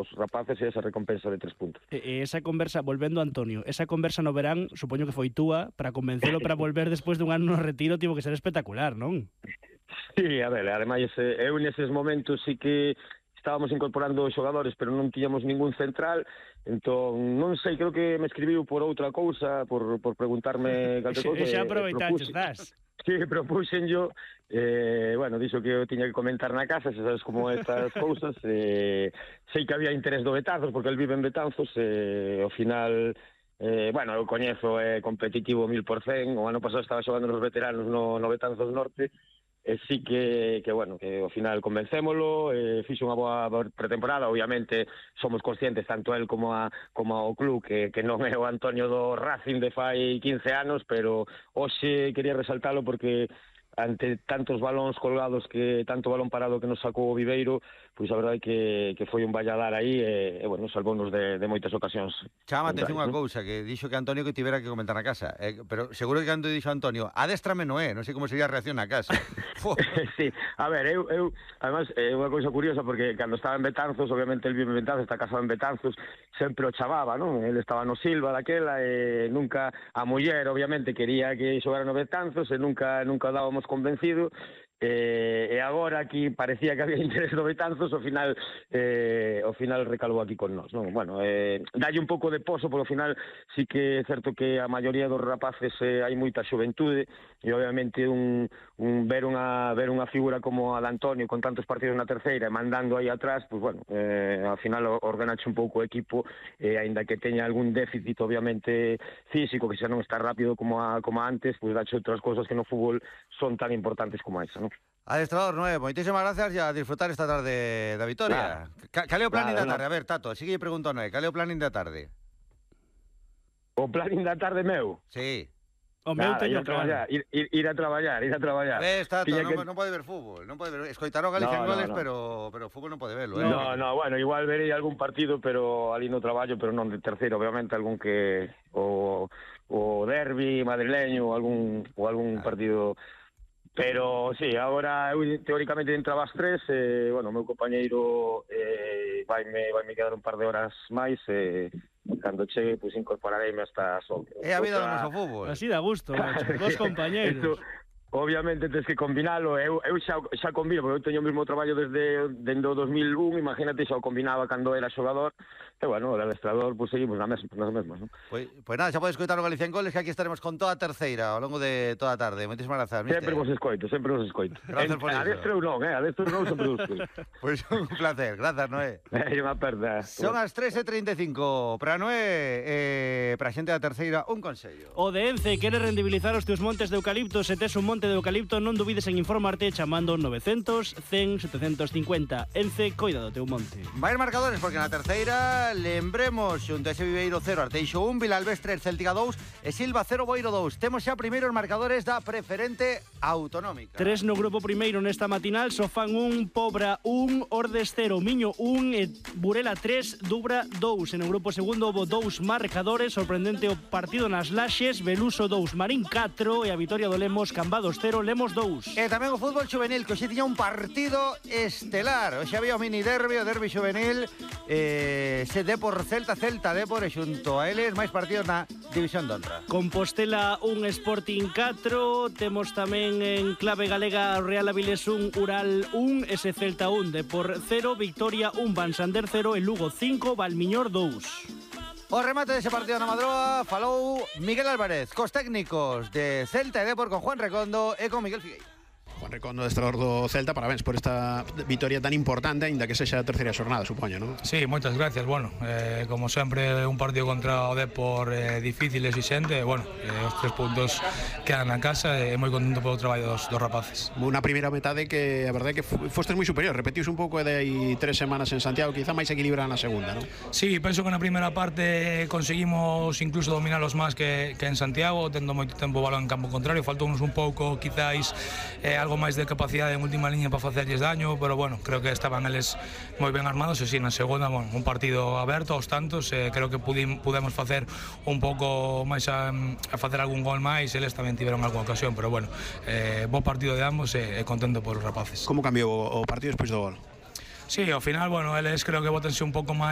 os rapaces e esa recompensa de 3 puntos. E esa conversa, volvendo a Antonio, esa conversa no verán, supoño que foi túa, para convencelo para volver despois dun ano no retiro, tivo que ser espectacular, non? Sí, a ver, ademais, eu neses momentos sí que estábamos incorporando xogadores, pero non tiñamos ningún central, entón, non sei, creo que me escribiu por outra cousa, por preguntarme calquer cousa. Xa aproveitaches, das. Sí, propuxen yo, bueno, dixo que eu tiña que comentar na casa, se sabes como estas cousas, sei que había interés do Betanzos, porque el vive en Betanzos, ao final, bueno, eu coñezo, é competitivo 1000%, o ano pasado estaba xogando nos veteranos no Betanzos Norte, e sí que bueno, que ao final convencémolo, fixo unha boa pretemporada, obviamente somos conscientes, tanto el como o club, que non é o Antonio do Racing de fai 15 anos, pero hoxe quería resaltalo porque ante tantos balóns colgados, tanto balón parado que nos sacou o Viveiro, pois a verdade que foi un valladar aí e bueno, salvounos de moitas ocasións. Chama atención unha cousa, que dixo que Antonio que tivera que comentar na casa, pero seguro que cando dixo Antonio, adéstrame non é, non sei como sería a reacción na casa. Sí, a ver, eu además, é unha cousa curiosa, porque cando estaba en Betanzos, obviamente el vive en Betanzos, está casado en Betanzos, sempre o chamaba, non? El estaba no Silva daquela, e nunca, a muller, obviamente, quería que xogara no Betanzos, e nunca dábamos convencido, e agora aquí parecía que había interés do Betanzos, ao final recalou aquí con nós, non? Bueno, dalle un pouco de poso, porque ao final sí que é certo que a maioría dos rapaces hai moita xuventude, e obviamente ver unha figura como a de Antonio con tantos partidos na terceira e mandando aí atrás, pois bueno, ao final ordenache un pouco o equipo, aínda que teña algún déficit obviamente físico, que xa non está rápido como antes, pois dache outras cousas que no fútbol son tan importantes como esa, non? Adestrador Noé, moitísimas gracias e a disfrutar esta tarde da vitoria. Cal é o planning da tarde? A ver, Tato, así que lle pregunto a Noé, cal é o planning da tarde? O planning da tarde meu? Sí. O meu teño claro. Ir a traballar. Tato, non pode ver fútbol, non pode ver, escoitaró Galicia en goles, pero fútbol non pode verlo, No, bueno, igual verei algún partido, pero ali no traballo, pero non de terceiro, obviamente algún que o derbi madrileño ou algún partido. Pero sí, agora eu teóricamente entraba ás 3, bueno, o meu compañeiro vaime quedar un par de horas máis, cando chegue, pois incorporareime hasta as 11. É a vida do noso fútbol. Así dá gusto, dos compañeiros. Obviamente tens que combinalo, eu xa combino, porque eu teño o mesmo traballo desde o 2001, imagínate, xa o combinaba cando era xogador, e bueno, o adestrador, pois seguimos nas mesmas, non? Pois nada, xa podes escoitar o Galicia en Goles, que aquí estaremos con toda a terceira ao longo de toda a tarde. Moitísimas grazas, mister. Sempre vos escoito. Gracias por iso. Adestro non, sempre vos escoito. Pois un placer, grazas, Noé. É unha perda. Son as 3:35, para Noé, para a xente da terceira, un consello. O de Ence quere rendibilizar os teus montes de eucalipto. Se tes un monte de eucalipto, non dubides en informarte chamando 900 100 750. Ence, coida do teu monte. Vai marcadores, porque na terceira lembremos xunto a ese Viveiro 0, Arteixo 1, Vilalbés 3, Céltica 2 e Silva 0, Boiro 2. Temos xa primeiros marcadores da preferente autonómica. 3 no grupo primeiro nesta matinal, Sofán 1, Pobra 1, Ordes 0, Miño 1 e Burela 3, Dubra 2. En o grupo segundo houve 2 marcadores, sorprendente o partido nas Laxes, Beluso 2, Marín 4 e a vitoria do Lemos, Cambados 0, Lemos 2. E tamén o fútbol juvenil, que hoxe tiña un partido estelar. Hoxe había o mini derbi, o derbi juvenil, se Depor Celta Depor, e xunto a eles máis partidos na División de Honra. Compostela 1, Sporting 4, temos tamén en clave galega Real Avilés 1, Ural 1, ese Celta 1, Depor 0, Victoria 1, Vansander 0 e Lugo 5, Valmiñor 2. O remate dese partido na Madroa falou Miguel Álvarez, cos técnicos de Celta e Depor, con Juan Recondo e con Miguel Figueira. Juan Recondo, adestrador do Celta, parabéns por esta vitoria tan importante, aínda que sexa a terceira xornada, supoño, non? Sí, moitas gracias. Bueno, como sempre, un partido contra o Depor difícil e exixente, bueno, os 3 puntos quedan na casa e moi contento polo traballo dos rapaces. Unha primeira metade que a verdade é que fostes moi superior, repetiuse un pouco de aí 3 semanas en Santiago, quizá máis equilibrada na segunda, non? Sí, penso que na primeira parte conseguimos incluso dominalos máis que en Santiago, tendo moito tempo o balón en campo contrario, faltounos un pouco, quizáis, algo máis de capacidade en última liña para facerlles daño, pero bueno, creo que estaban eles moi ben armados e si na segunda, bueno, un partido aberto aos tantos, creo que pudemos facer un pouco máis a facer algún gol máis, eles tamén tiveron algunha ocasión, pero bueno, bo partido de ambos e contento por os rapaces. Como cambiou o partido despois do gol? Sí, ao final, bueno, eles creo que bótense un pouco máis